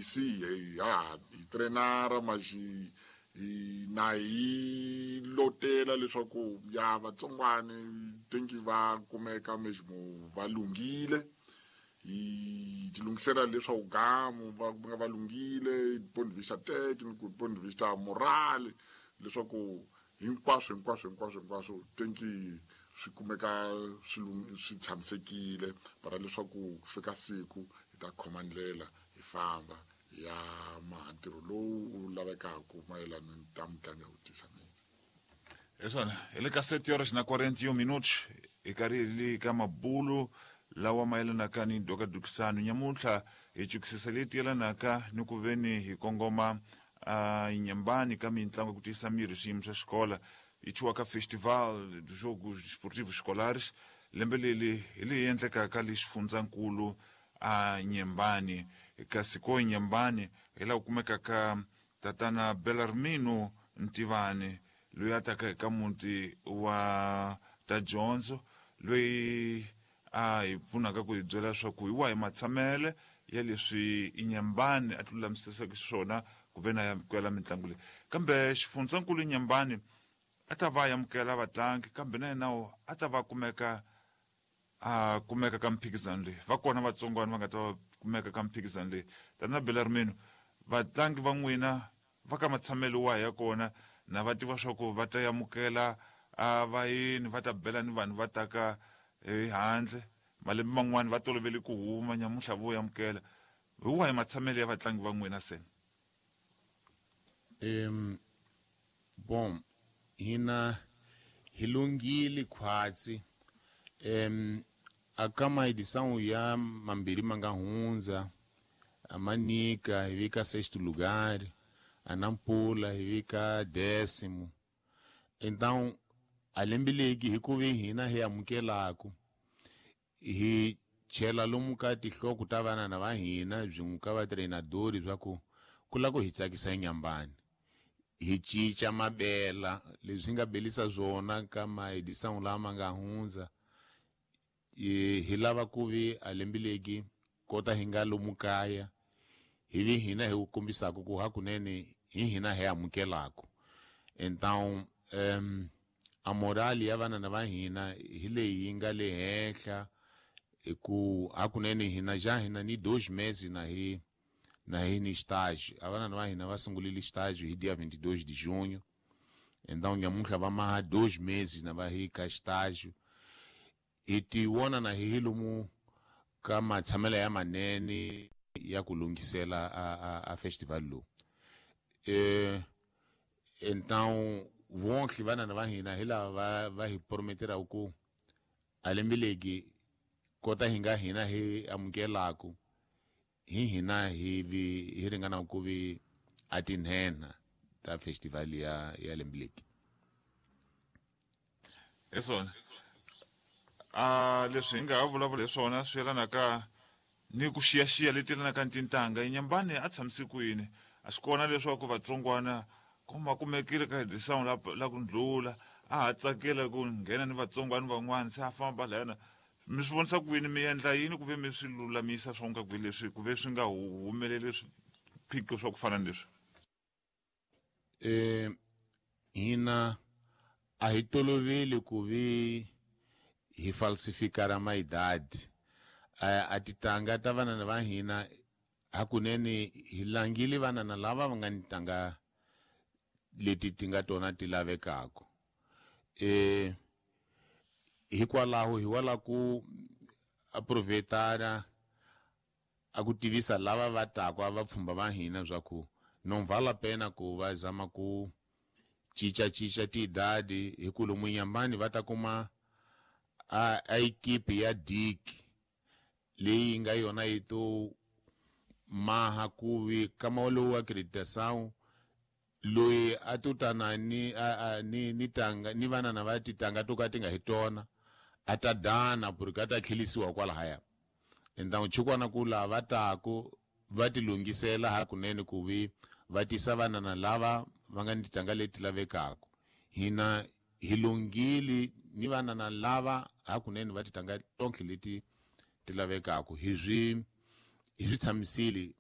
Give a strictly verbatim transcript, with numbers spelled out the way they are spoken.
busy hi ha hi trainara maxi hi na hi lotela leswaku ya vatsongwani tenki va kumeka meximo va lunghile hi ti lunghisela leswaku gamu va nga va lunghile ponto de vista técnico ponto de vista moral leswaku hinkwaswo hinkwaswo hinkwaswo hinkwaswo tenki swi kumeka swi swi tshamisekile para leswaku ku fika siku hi ta khoma ndlela hi famba ya maha ntirho lowu wu lavekaka mayelana ni ta mitlangu ya ku tisa miri. Hi swona hi le ka sete horas na quarenta e um minutos hi karhi hi le ka mabulu lawa mayelanaka ni dokadukisano nyamuntlha hi chukisisa leti yelanaka ni ku veni hi kongoma uh, Inhambane ka mitlangu ya ku tiyisa miri swiyimo swa xikola yi thyiwa ka Festival dos Jogos Desportivos Escolares lembe leri hi leyi endlekaka le xifundzankulu a Inhambane kasi ko Inhambane hi laha ku kumekaka tatana Belarmino Ntivani loyi a taka eka muti wa ta dyondzo loyi a hi pfunaka ku hi byela leswaku hi wahi matshamele ya leswi Inhambane a ti lulamisisaka xiswona ku ve na amukela mitlangu leyi kambe xifundzankulu Inhambane a ta va amukela vatlangi kambe na yena a ta va kumeka a kumeka ka mphikizano leyi va kona vatsongwana va nga ta va kumeka ka mphikizano leyi tana Belarmino vatlangi va n'wina va ka matshamelo wahi ya kona na va tiva swa ku va ta amukela a vayeni va ta bela ni vanhu va taka ehandle malembe man'wani va tolovele ku huma nyamuntlha vo amukela hi wahi matshamelo ya vatlangi va n'wina se? Um bom hina hi lunghile khwatsi um aka maedição ya mambirhi ma nga hundza a Manica hi vika sexto lugar, a Nampula hi vika décimo. Então a lembe legi hi ku ve hina hi amukelaku hi chela lomu ka tinhloko ta vanana va hina byin'we ka vatreinadori swa ku ku lava ku hi tsakisa Inhambane hi cinca mabela leswi nga belisa swona ka maedição lama nga hundza hi lava ku vi a lembe legi kota hi nga lomu kaya hi vi hina hi ku kombisaka ku hakunene hi hina hi amukelaku. Então um, a moral ya vanana va hina hi leyi yi nga le henhla hi ku hakunene hina já hina ni dois meses na hi na hi ni estágio. A vanana va hina va sungurile estágio hi dia vinte e dois de junho. Então nyamuntlha va maha dois meses na va hi ka estágio. Hi ti vona na hi lomu ka matshamelo ya manene ya ku lunghisela a, a, a festival lowu. Eh, então vonke vanana va hina hi lava va, va hi prometeraku ku a lembe legi kota hi nga hina hi amukelaku hi hina hi vi hi ringana ku vi a tinhenha ta festival ya ya lembe legi. Hi swona a leswi hi nga ha vulavula hi swona swi yelanaka ni ku xiyaxiya leti yelanaka ni tintangha Inhambane a tshamise kwini a swi kona leswaku vatsongwana kuma kumekile ka edição la la ku ndlula a ha tsakela ku nghena ni vatsongwana van'wana se a famba layana mi swi vonisa ku yini mi endla yini ku ve mi swi lulamisa swa nga ku leswi ku ve swi nga humeleli swiphiqo swa ku fana ni leswi? Eh hina a hi toloveli ku vi hi falsifikara maidadi a, a titanga ta vanana va hina hakunene hi langile vanana lava va nga ni tanga leti ti nga tona ti lavekaka. Eh hikwalaho hi wala ku aproveitara a ku tivisa lava va taka a vapfhumba va hina swa ku não vale a pena ku va zama ku cinca cinca tiidadi hi ku lomu Inhambane va ta kuma a, a equipe ya D I C leyi nga yona yi to maha ku vi kama lowu acreditação loyi a to tana ni a, a, ni ni tanga ni vanana va titanga to ka ti nga hi tona a ta dana porque a ta tlhelisiwa kwalahaya. Então chikwana ku lava taku va ti lunghisela hakunene ku vi va tisa vanana lava va nga ni titanga leti lavekaka. Hina hi lunghile ni vanana lava hakunene va titanga tonke leti ti lavekaka hi swi hi swi tshamisile